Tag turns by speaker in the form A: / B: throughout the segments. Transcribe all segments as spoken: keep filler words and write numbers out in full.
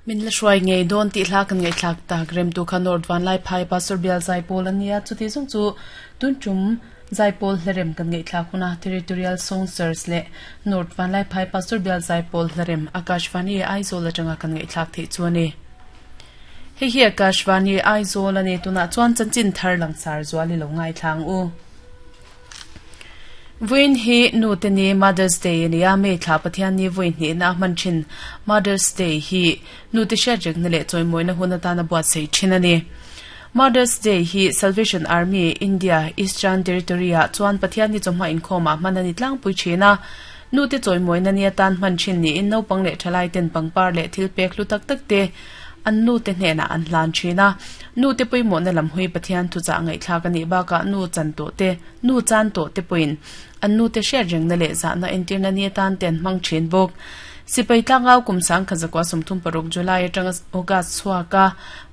A: Min la hruai ngei dawn tih hla kan ngaihthlak tak rem tu kha North Vanlaiphai Pastor Bial Zaipawl a nia. Chuti zawng chu tun tum Zaipawl hlarem kan ngaihthlak huna Territorial Song Search leh North Vanlaiphai Pastor Bial Zaipawl hlarem Akashvani Aizawl atanga kan ngaihthlak theih chu a ni. Hei hi Akashvani Aizawl a ni. Tunah chuan chanchin thar langsar zual i lo ngaithlang u. Vawiin hi nu te ni Mother's Day a ni a, May thla Pathian ni vawi hnihna a hman thin. Mother's Day hi nu te hriatrikna leh chawimawina hun atana buatsaih thin a ni. Mother's Day hi Salvation Army, India, Eastern Territory-ah chuan Pathian ni chawhma inkhawmah hman a ni tlangpui thin a. Nu te chawimawina ni atan hman thin niin naupang leh thalai ten pangpar leh thil pek hlu tak tak te an nu te hnenah an hlan thin a. Nu te pawimawhna lam hui Pathian thuchah ngaihthlak a nih bakah nu chan tawh te, nu chan tawh te pawhin an nu te hriat rengna leh zahna entirna ni atan te an hmang thin bawk. Sipai tlangau kum sangkhat zakua sawmthum paruk July atanga August chhuaka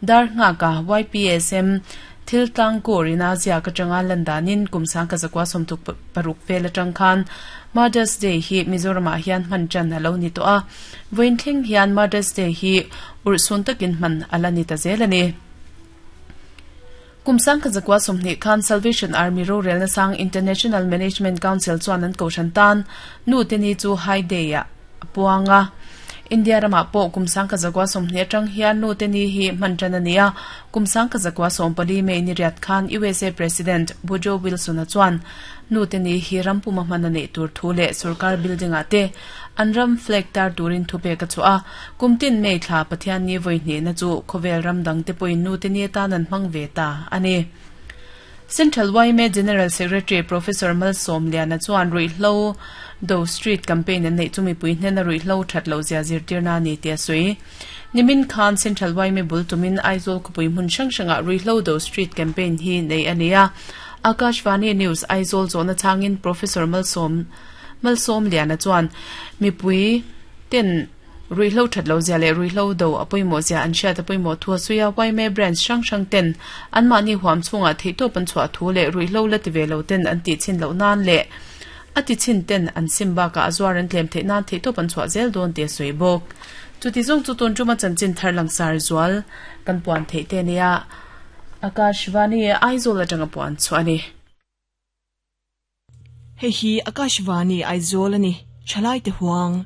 A: dar nghaka Y P S M thil tlangkur ina ziak atanga lan danin kum sangkhat zakua sawmthum paruk vel atang khan Mother's Day hi Mizoramah hian hman tan a lo ni tawh a. Vawiin thleng hian Mother's Day hi urhsun takin hman a la ni ta zel a ni. Kum sangkhat zakua sawmhnih khan Salvation Army rorelna sang International Management Council chuan an kohhran tan nu te ni chu High Day ah a puang a. India ramah pawh kum sangkhat zakua sawmhnih atang hian nu te ni hi hman tan a ni a. Kum sangkhat zakua sawm pali May ni riat khan U S A President Woodrow Wilson-a chuan nu te ni hi ram puma hman a neih tur thu leh sorkar building ah te an ram flag tar turin thu pek a chhuah a. Kum tin May thla Pathian ni vawi hnihna chu khawvel ram dang te pawhin nu te ni atan an hmang ve ta a ni. Central Y M A General Secretary Professor Malsawmliana chuan ruihhlo do street campaign an neih chu mipui hnena ruihhlo that loh zia zirtirna a ni tih a sawi. Nimin khan Central Y M A bul tumin Aizawl khawpui hmun hrang hrangah ruihhlo do street campaign hi nei a ni a. Akashvani News Aizawl zawhna changin Professor Malsawm Malsawmliana chuan mipui ten ruihhlo that loh zia leh ruihhlo do a pawimawh zia an hriat a pawimawh thu a sawi a. Y M A branch hrang hrang ten anmahni huam chhungah theihtawp an chhuah thu leh ruihhlo la ti ve lo ten an tih chhin loh nan leh a ti chhin ten an sim bakah a zuar an tlem theih nan theihtawp an chhuah zel dawn tih a sawi bawk. Chuti zawng chu tun tuma chanchin thar langsar zual kan puan theih te nia. Akashvani Aizawl atanga puan chu a ni.
B: Hei hi Akashvani Aizawl a ni. Thalai te huang.